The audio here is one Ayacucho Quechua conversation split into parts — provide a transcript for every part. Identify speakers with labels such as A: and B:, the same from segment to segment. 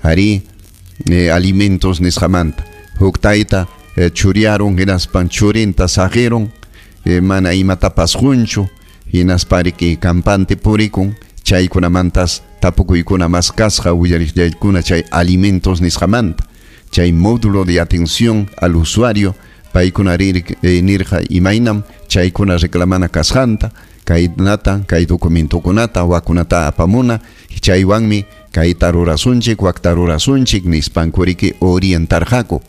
A: Arí, alimentos nisqamanta. Huk tayta churiarun hinaspan churinta saqirun, mana imatapas qunchu, hinaspa riki campante purikun, chaykunamantas tapukuykuna mas kasqa willariqllaykuna chay alimentos nisqamanta. Chay módulo de atención al usuario paykuna nirqa imaynam chaykuna reclamana kasqanta, kaynata, kay documentokunata, wakunata apamuna, chaywanmi kayta rurasunchik, wakta rurasunchik nispanku riki orientarqaku.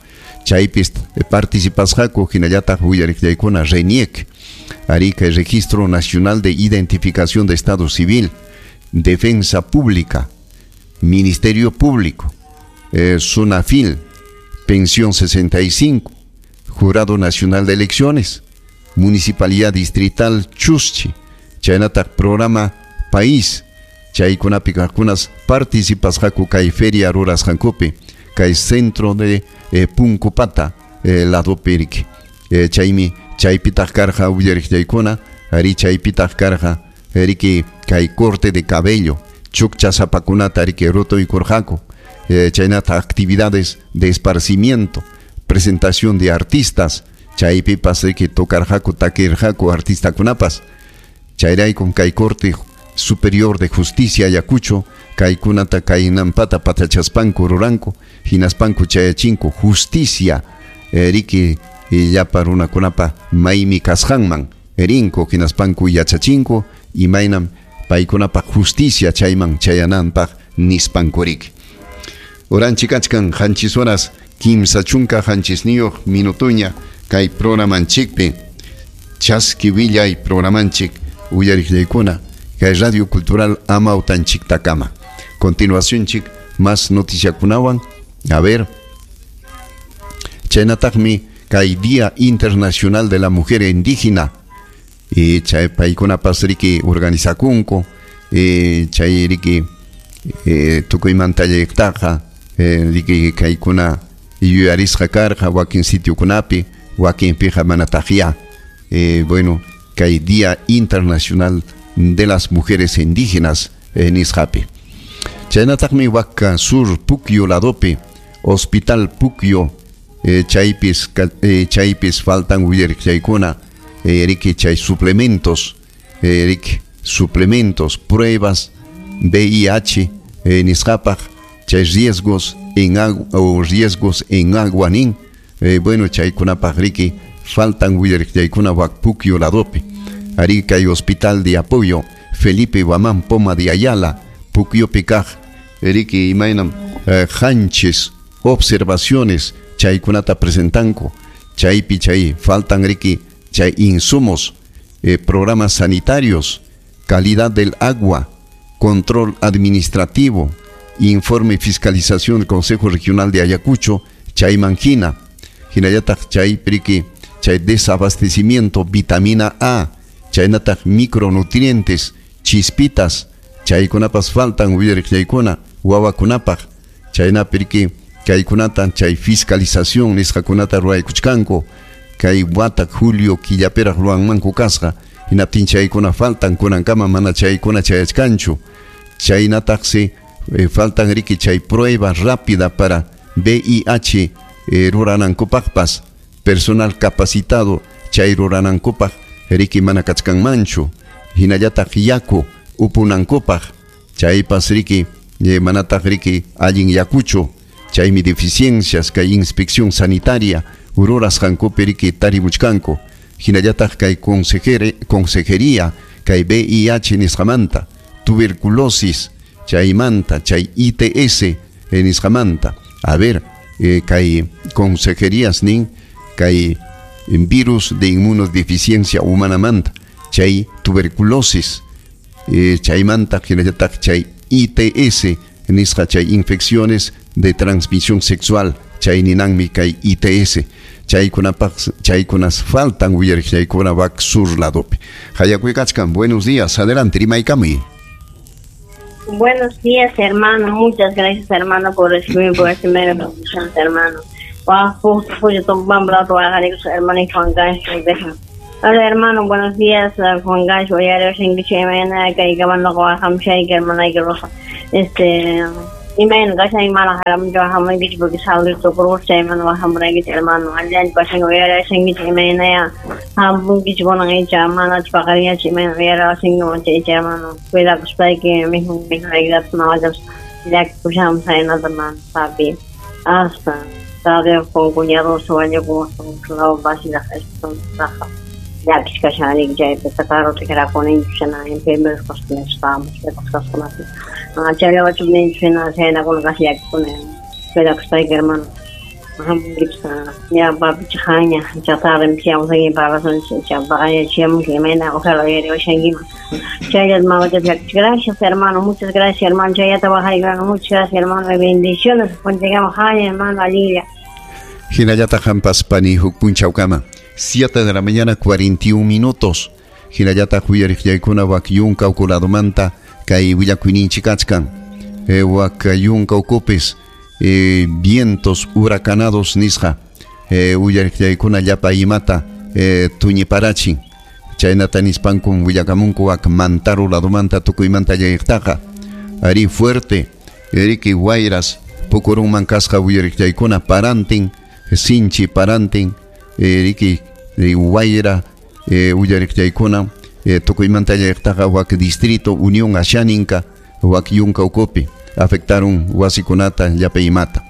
A: Chaypis participasqaku hinallataq willariqllaykuna RENIEC, arí kay Registro Nacional de Identificación de Estado Civil, Defensa Pública, Ministerio Público, SUNAFIL, Pensión 65, Jurado Nacional de Elecciones, Municipalidad Distrital Chuschi, chaynataq Programa País, chaykunapi kaqkunas participasqaku kay feria rurasqankupi, kay centro de Punkupata ladopi riki. Chaymi chaypitaq karqa willariqllaykuna, arí chaypitaq karqa riki kay corte de cabello, chukchasapakunata riki rutuykurqaku, chaynata actividades de esparcimiento, presentación de artistas, chaypipas riki tocarqaku, takirqaku artistakunapas. Chayraykum kay Corte Superior de Justicia Ayacucho, kaykunata kaynampata patachaspanku ruranku, hinaspanku chayachinku justicia, riki llapa runakunapa maymi kasqanman rinku, hinaspanku yachachinku, imaynam paykunapa justicia chayman chayananpaq nispanku riki. Oranchik kachkan 7 horas 37 minutuña kay programanchikpi, chaski willay programanchik uyariqllaykuna kay Radio Cultural Amawtanchiktakama. Continuación chik más noticiakunawan. A ver, chaynataqmi kay Día Internacional de la Mujer Indígena, chay paykunapas riki organizakunku, chay riki tukuymanta llaqtaqa, riki kaykuna yuyarisqa karqa wakin sitiokunapi, wakinpiqa manataqya. Bueno, kay Día Internacional de las Mujeres Indígenas nisqapi. Chaynataqmi Huaca Sur Puquio ladopi, Hospital Puquio, chaypis faltan willariqllaykuna, riki chay suplementos, riki suplementos, pruebas VIH nisqapaq, chay riesgos en agua o riesgos en agua nin, bueno, chaykunapaq riki faltan willariqllaykuna wak Puquio ladopi. Ari kay Hospital de Apoyo Felipe Guamán Poma de Ayala, Puquiopi kaq, riki imaynam hanchis observaciones chaykunata presentanku, chaypi chay faltan riki chay insumos, programas sanitarios, calidad del agua, control administrativo, informe fiscalización del Consejo Regional de Ayacucho, chayman hina, hinallataq chay riki chay desabastecimiento, vitamina A, chaynataq micronutrientes, chispitas, chaykunapas faltan willariqllaykuna wawakunapaq, chaynapi riki kaykunata chay fiscalización nisqakunata ruwaykuchkanku, kay wata julio killapiraq ruwanmanku kasqa, hinaptin chaykuna faltan kunankama mana chaykuna chayachkanchu, chaynataqsi faltan riki chay prueba rápida para VIH ruranankupaqpas, personal capacitado chay ruranankupaq riki mana kachkanmanchu, hinallataq yaku upunankupaq, chaypas riki manataq riki allin yakuchu, chaymi deficiencias kay inspección sanitaria rurasqankupi riki tarimuchkanku, hinallataq kay consejería kay VIH nisqamanta, tuberculosis chaymanta, chay ITS nisqamanta. A ver, kay consejerías nin kay virus de inmunodeficiencia humanamanta, chay tuberculosis, chaymanta hinallataq chay ITS nisqa, chay infecciones de transmisión sexual, chay ninanmi kay ITS, chaykunapaq chaykunas faltan willariqllaykuna wak sur ladopi. Hayakuykachkan, buenos días, adelante, rimaykamuy.
B: Buenos días, hermano, muchas gracias, hermano, por recibirme, por recibirme, hermano. Hola, hermano, buenos días, Juan Gacho, hermano. Imayna kashan mana haramunchu hamunkichik porque salud tukurusqa chaymanta wahamuraykichik hermano allinllachu kashanki uyarashankichik imaynaya hamunkichik kunan icha manachu paqarinñachu imayna uyarawasankiman icha hermano cuidakuspayki mikhunaykitapas mamachapas llakikushanpas saynata hermano papi hasta Tadeo con cuñados wañukun vasilaq llakisqa kashan chaypi karuta kirakuninchik hina enfermeros estábamos kasqakunapi chayllawachu ninchik hina chaynakuna casi llakikuni cuidakuspayki hermano hamunkichik ya papi chaqanña tarde chayamusayki parlasunchik paqarinchamunki imayna ojalá uyariwashankiman chayllata mamachapas llakichik gracias hermano muchas gracias hermano chayllata waqayki muchas gracias hermano bendiciones punchaykaman haña hermano allinlla.
A: Hinallataq qampas pani huk punchawkama 7 de la mañana 41 minutos. Hinallataq uyariqllaykuna wak yunka uku ladomanta kay willakuyninchik kachkan wak yunka ukupis vientos huracanados nisqa uyariqllaykuna llapa imata tuñiparachin chaynata nispankum willakamunku wak Mantaro ladomanta tukuymanta llayqtaqa ari fuerte riki wayras pukurunman kasqa uyariqllaykuna parantin sinchi parantin riki wayra uyariqllaykuna tukuymanta llayqtaqa wak distrito Unión Ashaninka wak yunka ukupi afectaron wasikunata llapa imata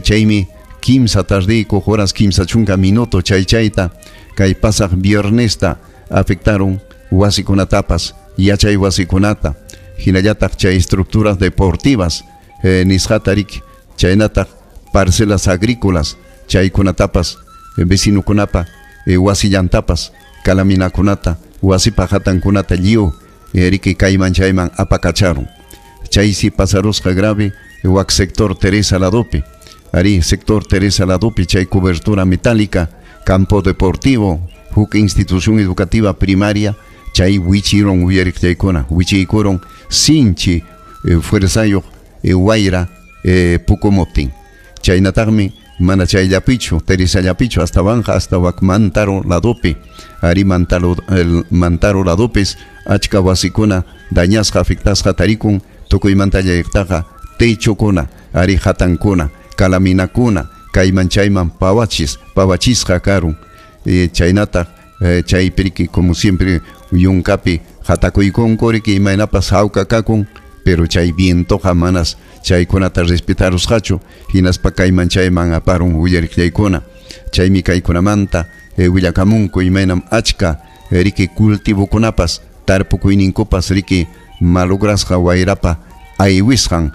A: chaymi kimsa tardiyku horas 30 minuto chay chayta kay pasaq viernesta afectaron wasikunatapas yachay wasikunata hinallataq chay estructuras deportivas nisqata riki chaynataq parcelas agrícolas chaykunatapas vecinukunapa wasillantapas kalaminakunata wasipa hatankunata lliw riki kayman chayman apakacharon chaysi pasarusqa grave wak sector Teresa Ladopi ari sector Teresa Ladopi chay cobertura metálica campo deportivo huk institución educativa primaria chay wichiron uyariqllaykuna wichiykuron sinchi fuerzayuq wayra pukumuptin chaynataqmi mana chayllapichu Teresallapichu hasta Banja hasta wak Mantaro ladopi ari Mantaro ladopis achka wasikuna dañasqa afectasqa tarikun tukuymanta llayqtaqa techukuna ari hatankuna kalaminakuna kayman chayman pawachisqa karun chaynataq chaypi como siempre yunkapi hatakuykunku riki imaynapas hawka kakun pero chay vientoqa manas chaykunata respetarusqachu hinaspa kayman chayman aparun uyariqllaykuna chaymi kaykunamanta willakamunku imaynam achka riki cultivokunapas tarpukuyninkupas riki malograsqa wayrapa aywisqan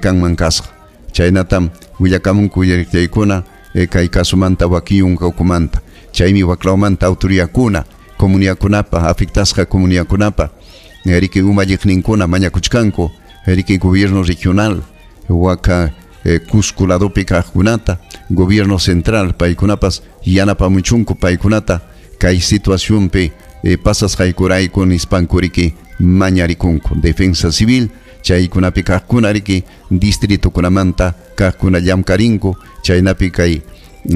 A: kanman kasqa chaynatam willakamunku uyariqllaykuna kay kasumanta wakiyunka ukumanta chaymi waklawmanta autoridadkuna comuniakunapa afectasqa comuniakunapa riki umalliqninkuna mañakuchkanku riki gobierno regional waka Cusco ladopi kaqkunata gobierno central paykunapas yanapamuchunku paykunata kay situacionpi pasasqaykurayku nispanku riki mañarikunku defensa civil chaykunapi kaqkuna riki distritokunamanta kaqkuna llamkarinku chaynapi kay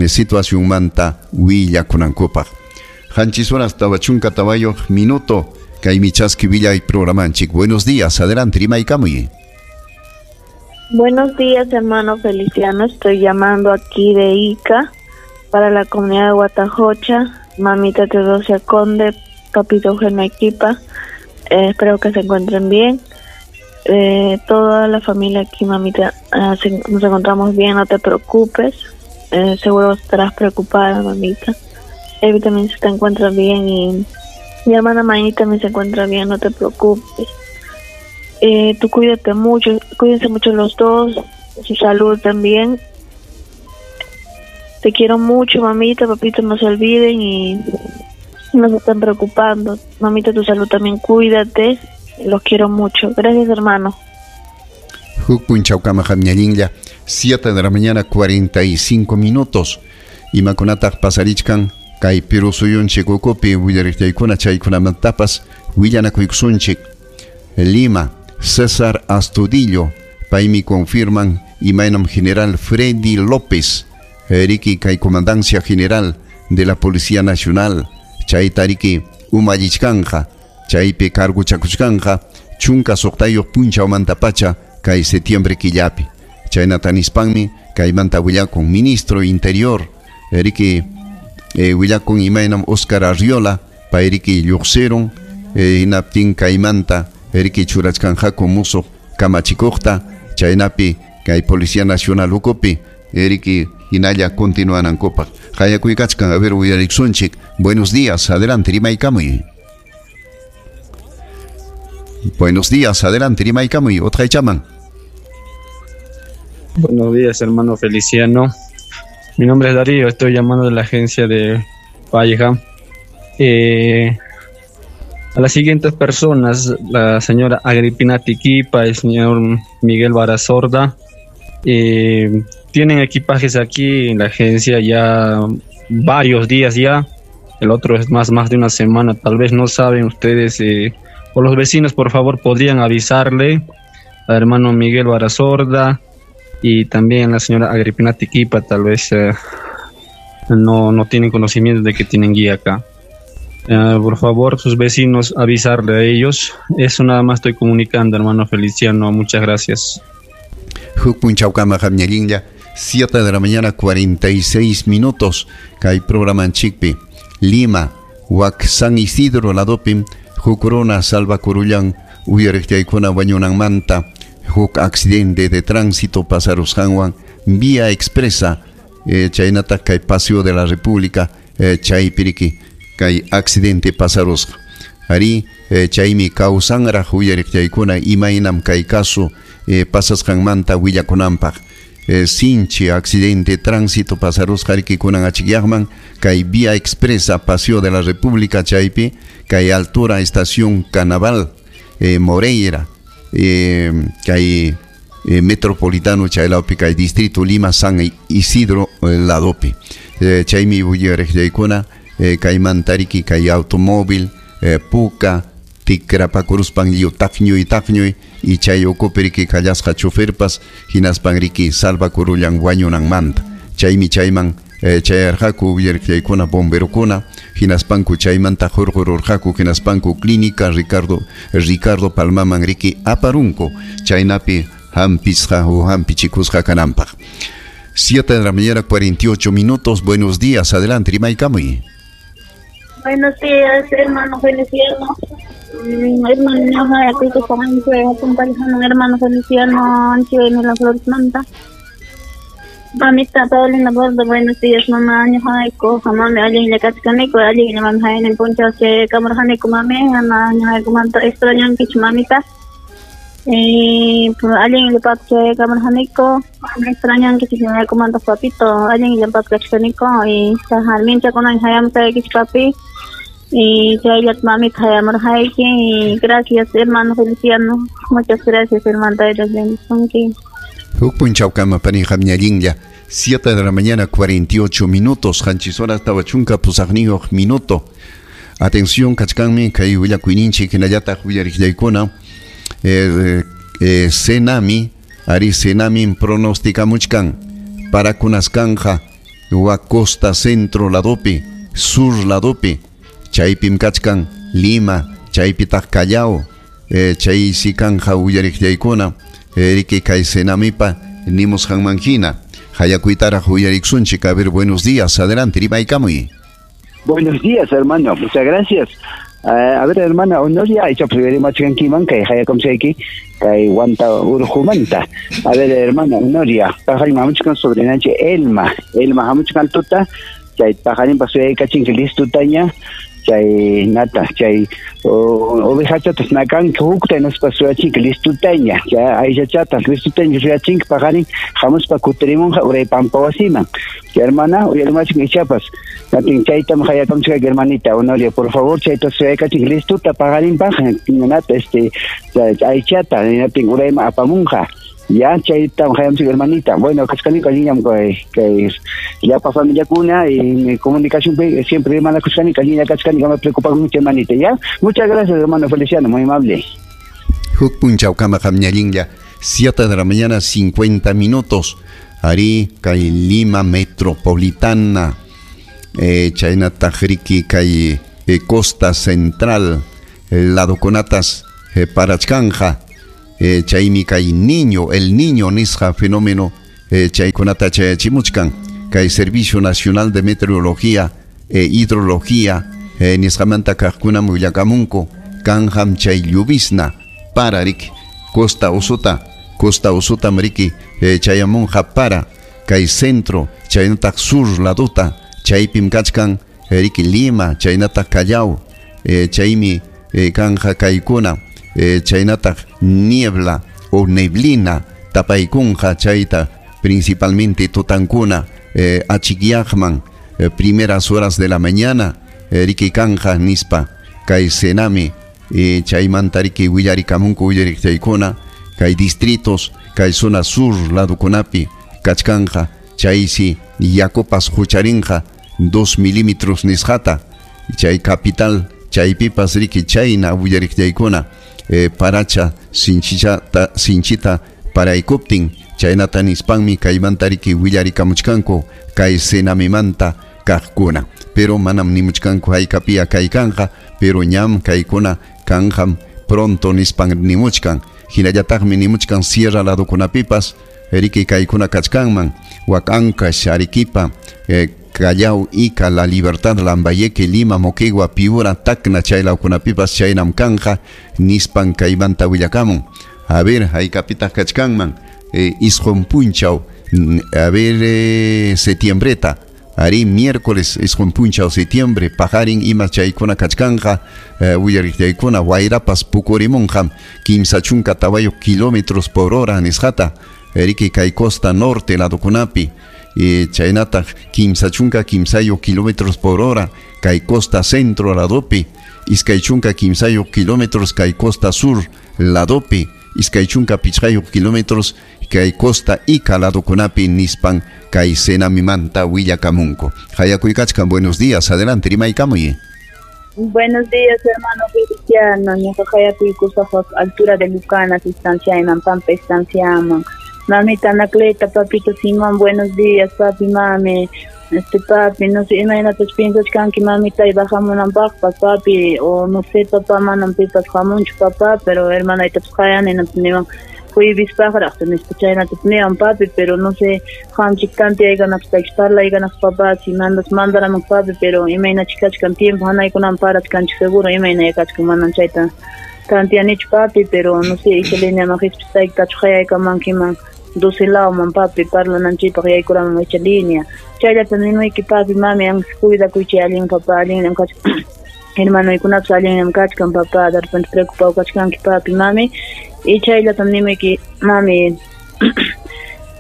A: situacionmanta willakunankupaq 7 horas 44 minuto kaymi chaski willay programanchik. Buenos días, adelante rimaykamuy.
C: Buenos días, hermano Feliciano. Estoy llamando aquí de Ica para la comunidad de Huatajocha, mamita Teodosia Conde, papito Eugenio Equipa. Espero que se encuentren bien. Toda la familia aquí, mamita, nos encontramos bien, no te preocupes. Seguro estarás preocupada, mamita. Evi también se te encuentra bien y mi hermana Mayni también se encuentra bien, no te preocupes. Tú cuídate mucho, cuídense mucho los dos, su salud también. Te quiero mucho, mamita, papito, no se olviden y no se están preocupando. Mamita, tu salud también, cuídate. Los quiero mucho. Gracias, hermano.
A: Huk punchawkama hamñallinlla, 7 de la mañana, 45 minutos. Imakunataq pasarichkan kay Perú suyunchik ukupi willariqllaykuna chaykunamantapas willanakuykusunchik. Lima, César Astudillo, paymi confirman imaynam general Freddy López, riki kay comandancia general de la Policía Nacional, chayta riki umallichkanja, chaypi carguchakuchkanja, 16 punchawmantapacha kay septiembre killapi. Chaynata nispanmi kaymanta willakun ministro interior riki willakun imaynam Oscar Arriola payriki lluqsirun hinaptin kaymanta riki churachkanqaku musuq kamachikuqta chaynapi kay Policía Nacional ukupi riki hinalla continuanankupaq. Qayakuykachkan, a ver, uyariksunchik. Buenos días, adelante, rimaykamuy. Buenos días, adelante, rimaykamuy. Utqaychaman.
D: Buenos días, hermano Feliciano. Mi nombre es Darío, estoy llamando de la agencia de Valleja. A las siguientes personas, la señora Agripina Tiquipa, el señor Miguel Barazorda, tienen equipajes aquí en la agencia ya varios días ya, el otro es más de una semana, tal vez no saben ustedes, o los vecinos por favor podrían avisarle al hermano Miguel Barazorda y también a la señora Agripina Tiquipa, tal vez no tienen conocimiento de que tienen guía acá. Por favor, sus vecinos, avisarle a ellos. Eso nada más estoy comunicando, hermano Feliciano. Muchas gracias.
A: 7 de la mañana, 46 minutos. Kay programa Chikpi, Lima, Wak San Isidro, Ladopim, Jukuruna, Salva Kurullan, Uyariktaykuna, Wañunanmanta, huk accidente de tránsito pasarusqanwan, vía expresa, chaynata kay Paseo de la República, chaypiriki, kay accidente pasarusqa. Ari, chaymi kawsanraq uyariqtaykuna imaynam kay caso pasasqanmanta willakunanpaq. Sinchi accidente tránsito pasarusqa riki kunan achikyaqman kay vía expresa Paseo de la República chaypi kay altura estación Canaval, Moreira, kay metropolitano chaylawpi kay distrito Lima San Isidro ladopi. Chaymi uyariqtaykuna kaymantariki kay automóvil puka tikrapakuruspan lliw taqñuy taqñuy y chay ukupi riki kallasqa choferpas hinaspan riki salvakurullan wañunanmanta. Chaymi chayman chayarqaku uyariqllaykuna bomberokuna hinaspanku chaymanta hurqururqaku hinaspanku clínica Ricardo Palmaman riki aparunku chaynapi hampisqa o hampichikusqa kananpaq. 7 de la mañana, 48 minutos. Buenos días, adelante, rimaykamuy.
E: Buenos días, hermano Feliciano. Hermano, hermano Feliciano, en la Flores Manta. Mamita Paulina Bordo, buenos días, mamá. Mami, alguien le cachcanico, alguien le manda en el poncho, que camarjanico, mami, mamá, extraño que mamita. Alguien le pacha camarjanico, extraño que se me comanda papito, alguien le pacha cachcanico, y sajalmincha con hayam papi. Y chayat mamita hayamurhayki, y gracias, hermano Feliciano. Muchas gracias, hermano.
A: Huk punchawkama panijam ñallinlla, 7 de la mañana, 48 minutos, qanchis horas tawa chunka pusaqniyuq minuto. Atención, kachkanmi kay willakuyninchik hinallataq uyariqllaykuna. Senami, ari Senami pronosticamuchkan para kunasqanqa wa costa centro ladopi, sur ladopi, chaypim kachkan Lima, chaypitaq Callao, chay sikanja uyariqllaykuna, riki kay Senamipa nimusqanman hina. Hayakuytaraq uyariksunchik. A ver, buenos días, adelante, rimaykamuy.
F: Buenos días, hermano, muchas gracias. A ver, hermana Honoria, kay hayakamchayki kay wanta urjumanta. A ver, hermana Honoria, pajarin hamuchkan sobrinanchi Elma, Elma hamuchkan tuta, chay pajarin pasuyaykachinkik listutaña, chay nata, chay ovejachatas nakanki hukta hinaspa suyachinki listutaña, chay aychachatas listutaña suyachinki paqarin hamuspa kutirimunqa uray pampa wasiman. Chay hermana, uyarimachik ichapas, natin chaytam hayakamchikayki hermanita Honoria, por favor, chayta suyaykachinki listuta paqarinpaq nata aychata natin urayman apamunqa. Ya, chaytam hayamchik hermanita. Bueno, kachkanika allinñam kay llapa familiakuna y mi comunicación siempre hermana kachkanika allinña kachkanika me preocupa mucho hermanita, ya. Muchas gracias, hermano Feliciano, muy amable.
A: Huk punchawkama qamñallinlla, 7 de la mañana, 50 minutos. Ari kay Lima Metropolitana, chaynataq riki kay Costa Central, ladokunatas parachkanja. Chaymi kay niño, el niño nisqa fenómeno chaykunata chayachimuchkan. Kay Servicio Nacional de Meteorología e Hidrología nisqamanta kaqkunam willakamunku kanqam chay lluvisna para riki costa usuta, costa usutam riki chayamunqa para kay centro chaynataq sur laduta chaypim kachkan riki Lima chaynataq Callao, chaymi kanja kaykuna chaynataq niebla o neblina tapaykunqa chayta principalmente tutankuna achikyaqman primeras horas de la mañana riki kanja nispa kay Senami chaymanta riki willarikamunku willariqchaykuna kay distritos kay zona sur ladukunapi kachkanja chaysi yakupas hucharinqa 2 milímetros nisqata chay capital chaypipas riki chayna willariqchaykuna paracha sinchita paraykuptin chaynata nispanmi kaymanta riki willarikamuchkanku kay Senamimanta kaqkuna pero manam nimuchkanku haykapia kaykanja pero ñam kaykuna kanjam pronto nispan nimuchkan hinallataqmi nimuchkan sierra ladukunapipas riki kaykuna kachkanman wak Ancash, Arequipa, Callao, Ica, La Libertad, Lambayeque, Lima, Moquegua, Piura, Tacna, chaylawkunapipas chaynam kanja nispan kaymanta willakamun. A ver, haykapitaq kachkanman isqun punchaw, a ver, septiembreta ari miércoles isqun punchaw septiembre paqarin ima chaykuna kachkanja willariqchaykuna wayrapas pukurimunqam 34 kilómetros por hora nisqata riki kay costa norte ladukunapi chaynataq 33 kilómetros por hora kay costa centro ladopi 23 kilómetros kay costa sur ladopi 25 kilómetros kay costa Ica ladukunapi nispan kay Senamimanta willakamunku. Hayakuykachkan, buenos días, adelante, rimaykamuy.
C: Buenos días, hermano Feliciano. Ñuqa hayakuykusaq altura de Lucanas, estancia Pampa, estancia Mamita Anacleta, papito Simón, buenos días, papi, mami. Papi, no sé, imagínate, piensas que mamita y bajamunanpaqpas, papi, o no sé, papá, manam pipas hamunchu, papá, pero hermana, y te pues, jueves chaynata papi, pero no sé, qamchik tantiaykanapaq parlaykanapaq papá, si mandas mandaraman papi, pero imayna kachkan tiempo hanaykunan parachkanchik seguro imayna kachkan manan chayta tantianichu papi, pero no sé, icha lineaman qispispayki hayaykamankiman 12 lawman papi parlananchikpaq yaykuraman icha linea chayllata nimayki papi, mami, ancha cuidakuychay allin papá, allinllam kachkan hermanoykunapas allinllam kachkan papá, de repente preocupado kachkanki papi, mami. Y chayllatam nimayki mami.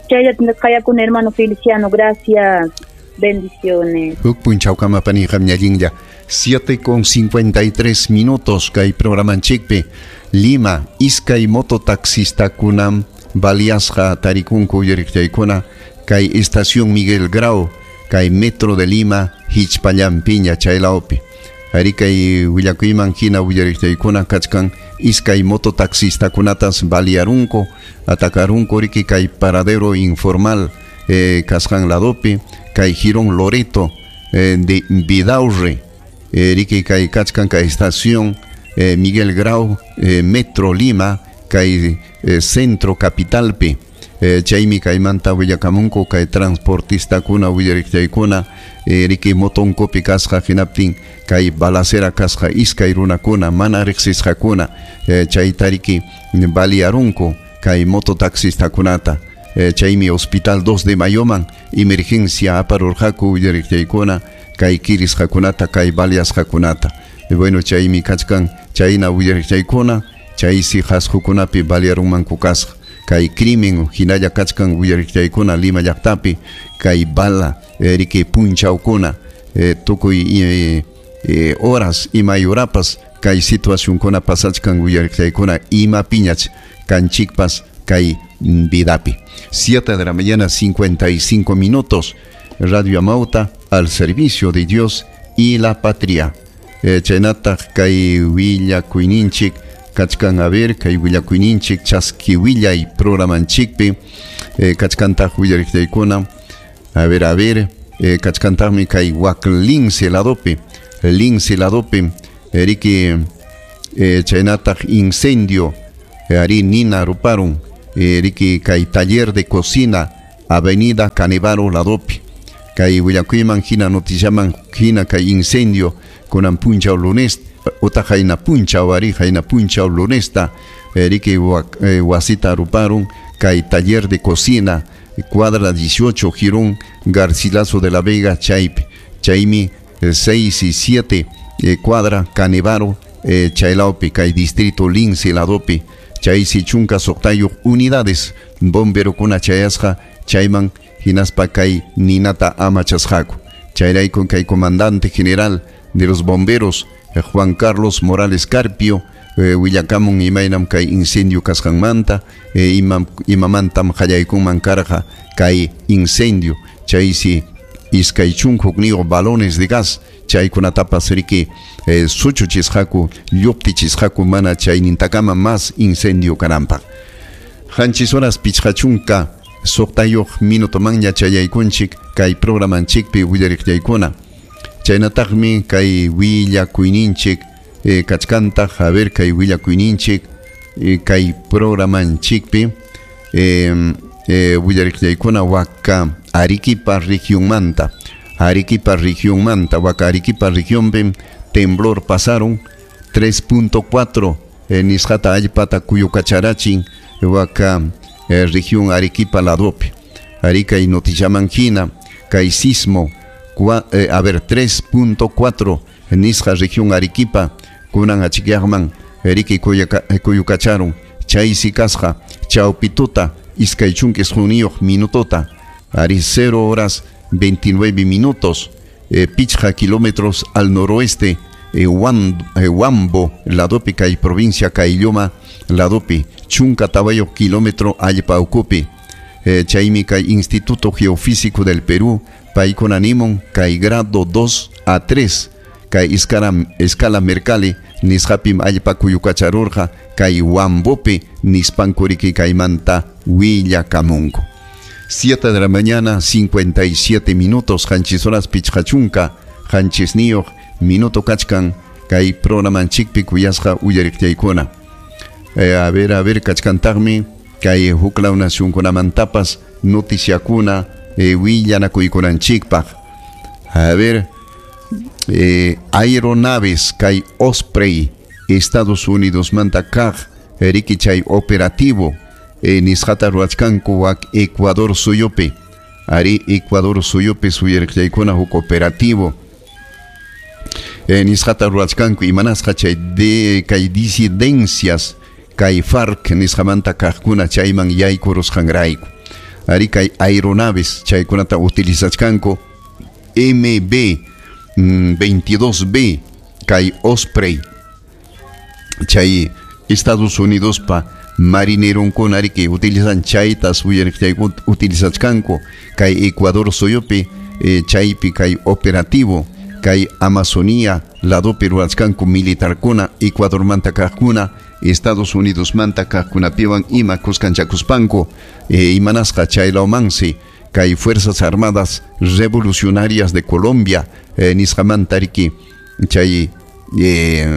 C: Chayllatam qayakuna hermano Feliciano, gracias. Bendiciones.
A: Huk punchawkama paniqam ñallinlla 7:53 minutos kay programanchikpi Lima iskay mototaxistakunam baliasqa tarikunku uyariqchaykuna kay estación Miguel Grau kay metro de Lima hichpallampiña chaylawpi. Ari kay willakuyman hina willariqchaykuna kachkan iskay mototaxistakunatas baliarunku atacarunku riki kay paradero informal kasqan ladopi kay Jirón Loreto de Vidaurre riki kay kachkan kay estación Miguel Grau Metro Lima kay centro capitalpi chaymi kaymanta willakamunku kay transportistakuna willariqchaykuna riki motonkupi kasqa hinaptin kay balacera kasqa iskay runakuna mana riqsisqakuna chayta riki baliarunku kay mototaxistakunata chaymi hospital 2 de Mayoman emergencia aparurqaku willariqchaykuna kay kirisqakunata kay baliasqakunata. Bueno, chaymi kachkan chayna willariqchaykuna chaysi qasqukunapi baliarunmanku kasqa kay crimen hinalla kachkan willariqchaykuna Lima llaqtapi kay bala riki punchawkuna tukuy horas imay horapas kay situacionkuna pasachkan willariqchaykuna imapiñach kanchikpas kay vidapi. 7 de la mañana 55 minutos. Radio Amauta al servicio de Dios y la patria. Chaynataq kay willakuyninchik kachkan a ver kay willakuyninchik chaski willay programanchikpi kachkantaq willariqchaykuna a ver kachkantaqmi kay wak Lince ladopi riki chaynataq incendio Ari nina ruparun riki kay taller de cocina Avenida Canevaro ladopi kay willakuyman hina noticiaman hina kay incendio kunan punchaw lunes utaq hayna punchaw ari hayna punchaw lunesta riki wasita ruparun kay taller de cocina cuadra 18 Girón Garcilaso de la Vega chaypi chaymi 6 y 7 cuadra Canevaro chaylawpi kay distrito Lince ladopi chaysi chunka suqtayuq unidades bomberokuna chayasqa chayman hinaspa kay ninata amachasqaku chayrayku kay comandante general de los bomberos Juan Carlos Morales Carpio willakamun imaynam kay incendio kasqanmanta imamantam qallaykunman karqa kay incendio chaysi iskay chunka hukniyuq balones de gas chaykunatapas riki suchuchisqaku lluptichisqaku mana chaynintakama mas incendio kananpaq. Qanchis horas pichqa chunka suqtayuq minutomanña chayaykunchik kay programanchikpi willariqllaykuna chaynataqmi kay willakuyninchik kachkantaq a ver kay willakuyninchik kay programanchikpi willariqllaykuna waka Arequipa regionmanta Arequipa regionmanta waka Arequipa regionpi temblor pasaron 3.4 nisqata allpata kuyukacharachin waka región Arequipa ladopi Arica y noticiaman hina kay sismo a ver 3.4 nisqa región Arequipa kunan achikyaqman riki kuyukacharun chaysi kasqa chawpituta iskay chunka isquniyuq minutota ari 0 horas 29 minutos pichqa kilómetros al noroeste Huambo ladopi kay provincia Caylloma ladopi chunka tawayuq kilómetro allpa ukupi chaymi kay Instituto Geofísico del Perú paykuna nimun kay grado 2 a 3 kay escala Mercalli nisqapim allpa kuyukacharurqa kay Huambopi nispankuriki kaymanta willakamunku. 7 de la mañana 57 minutos qanchis horas pichqa chunka qanchisniyuq minuto kachkan kay programanchikpi kuyasqa uyariqllaykuna. A ver kachkantaqmi kay huklaw nacionkunamantapas noticiakuna willanakuykunanchikpaq. A ver aeronaves kay Osprey Estados Unidos manta kaq riki chay operativo nisqata ruwachkanku wak Ecuador suyupi ari Ecuador suyupi suyariqllaykuna huk operativo nisqata ruwachkanku imanasqa chay de kay disidencias kay FARC nisqamanta kaqkuna chayman yaykurusqanrayku ari kay aeronaves chaykunata utilizachkanku MB 22B kay Osprey chay Estados Unidos pa marineronkuna riki utilizan chaytas utilizachkanku kay Ecuador suyupi chaypi kay operativo kay Amazonía ladopi ruwachkanku militarkuna Ecuadormanta kaqkuna Estados Unidos manta kaqkunapiwan ima kuskanchakuspanku imanasqa chaylawmansi kay Fuerzas Armadas Revolucionarias de Colombia nisqamanta riki chay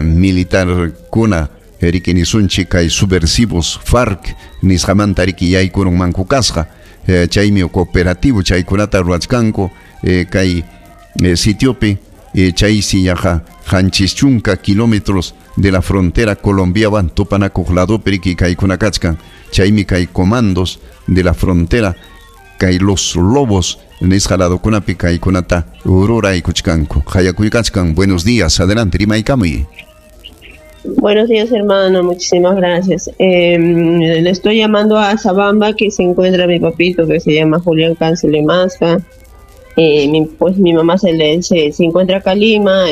A: militarkuna riki nisunchik kay subversivos FARC nisqamanta riki yaykurunmanku kasqa chaymi cooperativo chaykunata ruwachkanku kay sitiopi chaysi yaqa qanchis chunka kilómetros de la frontera colombiawan tupanakuq ladopi riki kaykuna kachkan chaymi kay comandos de la frontera kay los lobos nisqa ladokunapi kaykunata ruraykuchkanku. Qayakuykachkan. Buenos días, adelante, rimaykamuy.
G: Buenos días, hermano, muchísimas gracias. Le estoy llamando a Sabamba, que se encuentra mi papito, que se llama Julián Cancelemasca. Pues mi mamá se encuentra acá en Lima.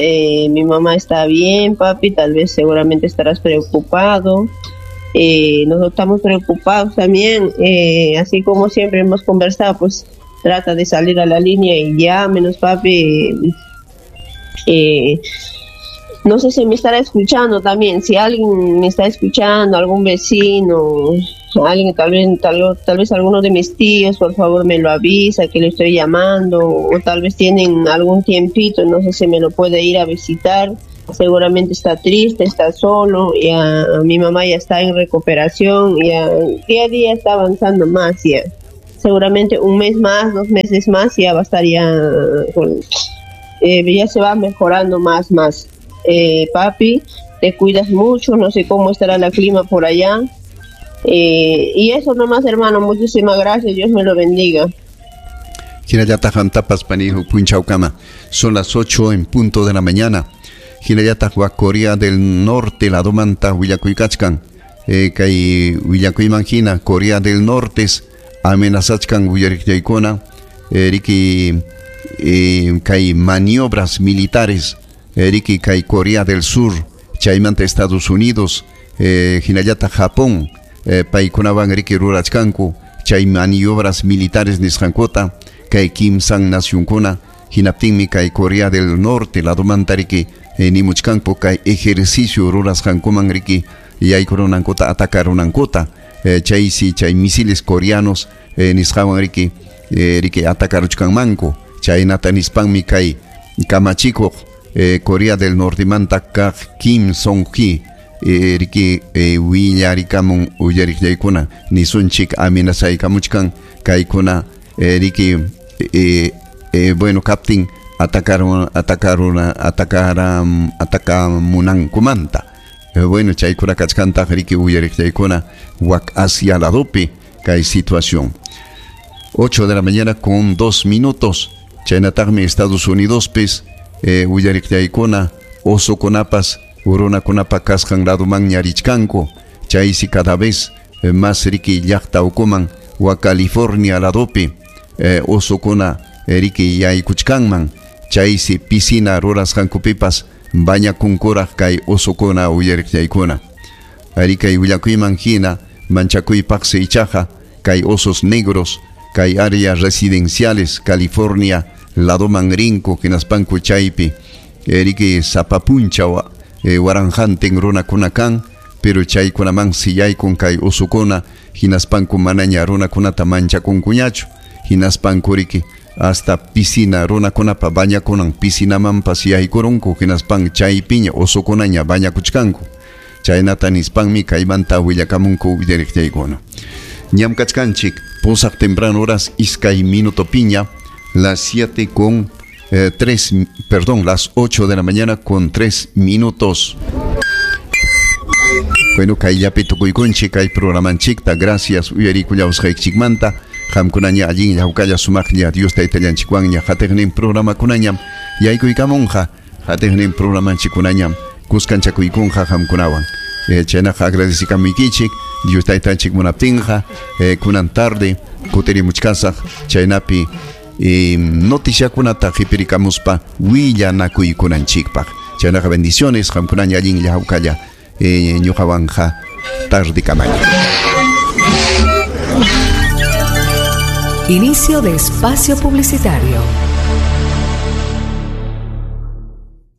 G: Mi mamá está bien, papi, tal vez seguramente estarás preocupado. Nosotros estamos preocupados también, así como siempre hemos conversado, pues trata de salir a la línea y llámenos, papi. No sé si me estará escuchando también, si alguien me está escuchando, algún vecino, alguien, tal vez alguno de mis tíos, por favor me lo avisa que le estoy llamando, o tal vez tienen algún tiempito, no sé si me lo puede ir a visitar. Seguramente está triste, está solo, ya mi mamá ya está en recuperación, ya día a día está avanzando más, ya. Seguramente un mes más, 2 meses más, ya va a estar ya, con, ya se va mejorando más, más. Papi, te cuidas mucho, no sé cómo estará el clima por allá. Y eso nomás, hermano, muchísimas gracias, Dios me lo bendiga.
A: Hinallataq qamtapas panihu punchawkama. Son las 8 en punto de la mañana. Hinallataq wa Corea del Norte ladomanta willakuykachkan. Kay willakuyman hina Corea del Norte amenazachkan willariqllaykuna, riki kay maniobras militares, riki kay Corea del Sur, chaymanta Estados Unidos, hinallataq Japón, paykunawan riki rurachkanku chay maniobras militares nisqankuta kay kimsan nacionkuna. Hinaptinmi kay Corea del Norte ladomanta riki nimuchkanku kay ejercicio rurasqankuman riki yaykurunankuta atacarunankuta, chaysi chay misiles coreanos nisqawan riki riki atakaruchkanmanku. Chaynata nispanmi kay kamachikuq Corea del Nortemanta kaq Kim Song-hee riki willarikamun uyariqllaykuna nisunchik amenazaykamuchkan kaykuna riki bueno kaptin atakamunankumanta. Bueno, chaykuna kachkantaq riki uyariqllaykuna wak Asia ladopi kay situación. 8 de la mañana con 2 minutos. Chaynataqmi Estados Unidos pis uyariqllaykuna osokunapas urunakunapa kasqan ladoman ñarichkanku. Chaysi cada vez más riki llaqta ukuman wa California ladopi osokuna riki yaykuchkanman. Chaysi piscina rurasqankupipas bañakunkuraq kay osokuna uyariqllaykuna. Ari kay willakuyman hina manchakuypaqsi ichaqa kay osos negros kay áreas residenciales California ladoman rinku hinaspanku chaypi riki sapapuncha waranjantin runakuna kan, pero chaykunamansi yaykun kay osokuna hinaspanku manaña runakunata manchakunkuñachu. Hinaspanku riki hasta piscina runakunapa bañakunan piscinamanpas yaykurunku hinaspan chaypiña osokunaña bañakuchkanku. Chaynata nispanmi kaymanta willakamunku willariqllaykuna. Ñam kachkanchik pusaq temprano horas iskay minuto piña, las 7:03, las 8 de la mañana con 3 minutos. Bueno, kayllapi tukuykunchik kay programanchikta. Gracias uyarikullawasqaykichikmanta. Qamkunaña allinlla hawkalla sumaqlla Dios taytallanchikwanña hatiqnin programakunañam yaykuykamunqa hatiqnin programanchikkunañam kuskanchakuykunqa qamkunawan. Chaynaqa agradecikamuykichik Dios taytanchik munaptinqa kunan tarde kutirimuchkasaq chaynapi noticiakunata qhipirikamuspa willanakuykunanchikpaq. Chaynaqa bendiciones qamkunaña allinlla hawkalla ñuqawanqa tardekamaña.
H: Inicio de espacio publicitario.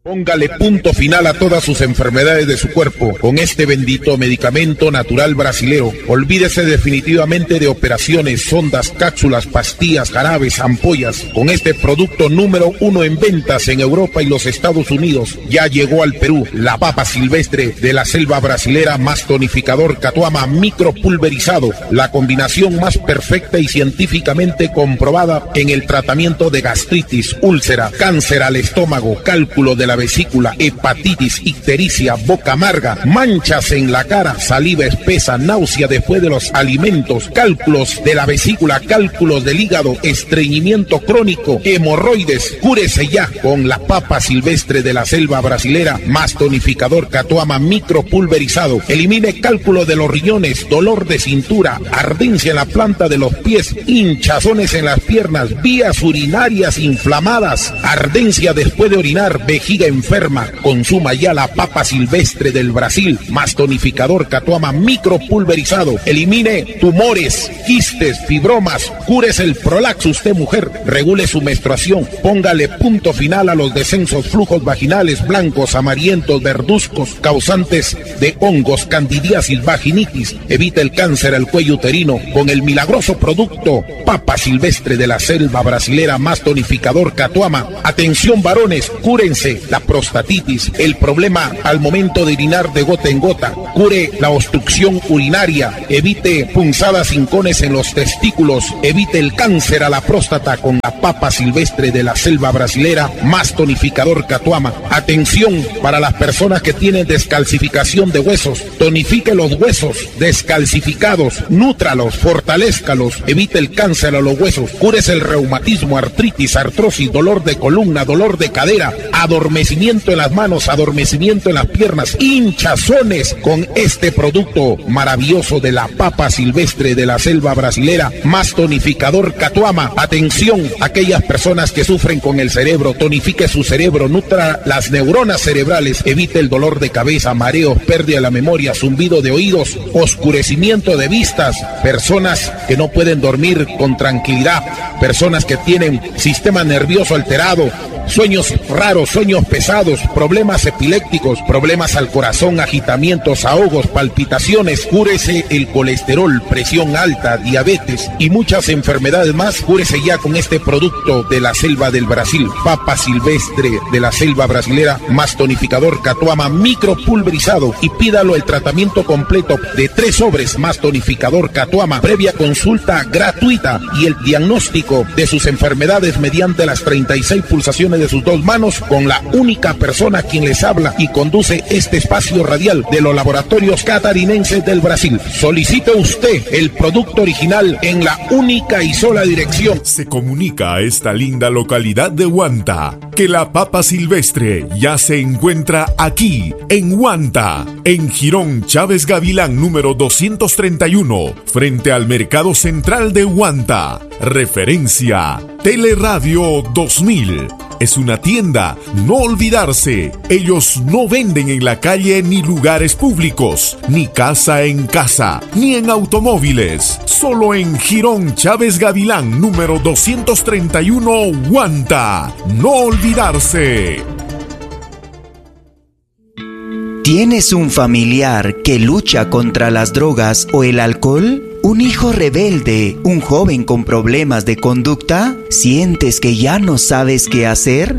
I: Póngale punto final a todas sus enfermedades de su cuerpo con este bendito medicamento natural brasilero. Olvídese definitivamente de operaciones, sondas, cápsulas, pastillas, jarabes, ampollas. Con este producto número 1 en ventas en Europa y los Estados Unidos, ya llegó al Perú la papa silvestre de la selva brasilera más tonificador Catuama micropulverizado, la combinación más perfecta y científicamente comprobada en el tratamiento de gastritis, úlcera, cáncer al estómago, cálculo de la vesícula, hepatitis, ictericia, boca amarga, manchas en la cara, saliva espesa, náusea después de los alimentos, cálculos de la vesícula, cálculos del hígado, estreñimiento crónico, hemorroides. Cúrese ya con la papa silvestre de la selva brasilera más tonificador Catuama micropulverizado. Elimine cálculo de los riñones, dolor de cintura, ardencia en la planta de los pies, hinchazones en las piernas, vías urinarias inflamadas, ardencia después de orinar, vejiga enferma. Consuma ya la papa silvestre del Brasil más tonificador Catuama micropulverizado. Elimine tumores, quistes, fibromas, cúrese el prolaxo usted mujer, regule su menstruación, póngale punto final a los descensos, flujos vaginales blancos, amarillentos, verduzcos, causantes de hongos, candidiasis, vaginitis. Evite el cáncer al cuello uterino con el milagroso producto papa silvestre de la selva brasilera más tonificador Catuama. Atención varones, cúrense la prostatitis, el problema al momento de orinar de gota en gota, cure la obstrucción urinaria, evite punzadas hincones en los testículos, evite el cáncer a la próstata con la papa silvestre de la selva brasilera, más tonificador Catuama. Atención para las personas que tienen descalcificación de huesos, tonifique los huesos descalcificados, nútralos, fortalézcalos, evite el cáncer a los huesos, cúrese el reumatismo, artritis, artrosis, dolor de columna, dolor de cadera, adormecimiento en las manos, adormecimiento en las piernas, hinchazones con este producto maravilloso de la papa silvestre de la selva brasilera, más tonificador Catuama. Atención, aquellas personas que sufren con el cerebro, tonifique su cerebro, nutra las neuronas cerebrales, evite el dolor de cabeza, mareos, pérdida de la memoria, zumbido de oídos, oscurecimiento de vistas, personas que no pueden dormir con tranquilidad, personas que tienen sistema nervioso alterado, sueños raros, sueños pesados, problemas epilépticos, problemas al corazón, agitamientos, ahogos, palpitaciones, cúrese el colesterol, presión alta, diabetes y muchas enfermedades más, cúrese ya con este producto de la selva del Brasil, papa silvestre de la selva brasilera, más tonificador Catuama micropulverizado, y pídalo el tratamiento completo de 3 sobres más tonificador Catuama, previa consulta gratuita y el diagnóstico de sus enfermedades mediante las 36 pulsaciones de sus 2 manos, con la única persona quien les habla y conduce este espacio radial de los laboratorios catarinenses del Brasil. Solicite usted el producto original en la única y sola dirección.
J: Se comunica a esta linda localidad de Huanta que la papa silvestre ya se encuentra aquí, en Huanta, en Jirón Chávez Gavilán número 231, frente al Mercado Central de Huanta. Referencia Teleradio 2000. Es una tienda, no olvidarse. Ellos no venden en la calle ni lugares públicos, ni casa en casa, ni en automóviles. Solo en Jirón Chávez Gavilán, número 231, Huanta. No olvidarse.
K: ¿Tienes un familiar que lucha contra las drogas o el alcohol? ¿Un hijo rebelde? ¿Un joven con problemas de conducta? ¿Sientes que ya no sabes qué hacer?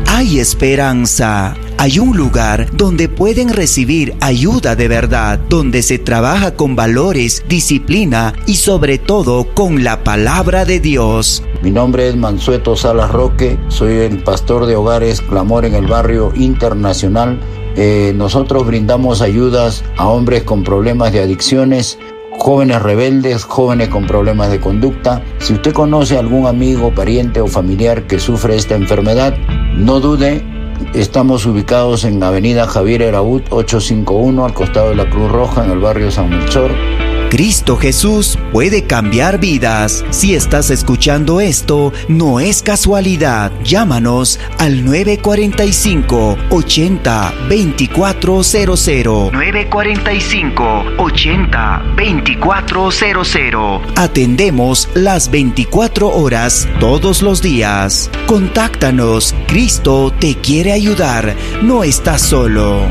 K: Hay esperanza. Hay un lugar donde pueden recibir ayuda de verdad, donde se trabaja con valores, disciplina y sobre todo con la palabra de Dios.
L: Mi nombre es Mansueto Salas Roque, soy el pastor de Hogares Clamor en el Barrio Internacional. Nosotros brindamos ayudas a hombres con problemas de adicciones, jóvenes rebeldes, jóvenes con problemas de conducta. Si usted conoce a algún amigo, pariente o familiar que sufre esta enfermedad, no dude. Estamos ubicados en Avenida Javier Eraúd 851, al costado de la Cruz Roja, en el barrio San Melchor.
K: Cristo Jesús puede cambiar vidas. Si estás escuchando esto, no es casualidad. Llámanos al 945 80 2400. 945 80 2400. Atendemos las 24 horas todos los días. Contáctanos. Cristo te quiere ayudar. No estás solo.